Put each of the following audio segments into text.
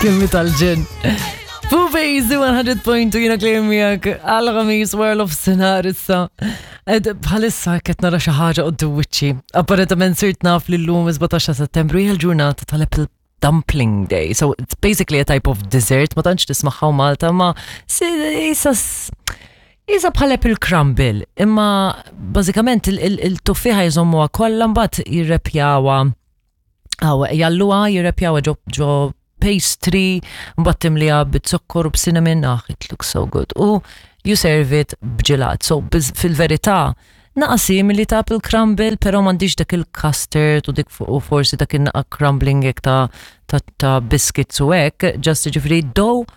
Kemm tal-ġen. Fubizi 100.2 jiena Claire miegħek għal ħamis wara l-ofsinhar issa. Ed bħalissa qed nara xi ħaġa qudiem wiċċi. Apparentament sirt naf li llum 17 ta' Settembru hija l-ġurnata tal-Apple Dumpling Day. So it's basically a type of dessert, ma tantx tismagħha Malta, ma isa Iża bħal apple crumble, imma bażikament il-tuffiħa jżommuha kollha mbagħad jirrepjawha Għaw, jalluha jirrepjawha ġo ġo pastry, mbagħad timliha bit-zokkor u b'cinnamon, ah, it looks so good. U you serve it b'ġelat. So fil-verità, naqa simili ta' apple crumble, pero m'għandix dak il-custard u dik u forsi dak il-naqa crumbling hekk ta' biscuits u hekk, just ġifieri dough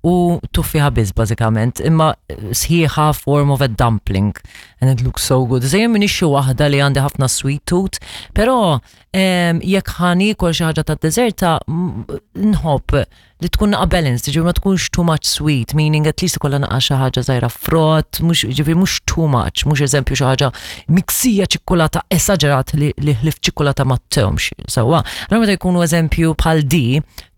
u tuffiħa biss bażikament, imma sħiħa form of a dumpling and it looks so good. Zejjem minix xi waħda li għandi ħafna sweet tooth, però jekk ħa niekol xi ħaġa ta' deżerta nħobb li tkun naqa balanced, ġifieri ma tkunx too much sweet, meaning at least ikollha naqa xi ħaġa żgħira frott, mhux ġifieri mhux too much, mhux eżempju xi ħaġa miksija ċikkulata esaġerat li ħlif ċikkulata ma tewmx. Sewwa, allura meta jkunu eżempju bħal di,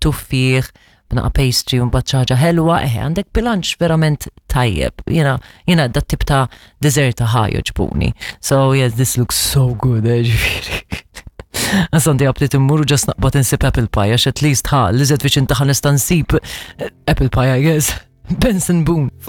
tuffieħ, b'naqa pastry u mbagħad xi ħaġa ħelwa, eħe, għandek bilanċ verament tajjeb. Jiena dat tip ta' deżerta ħa joġbuni. So yes, this looks so good, ġifieri. Għasandi għabtit immur u just naqbad insib apple pie, għax at least ħa, li viċin taħ nista' nsib apple pie, I guess. Benson Boone.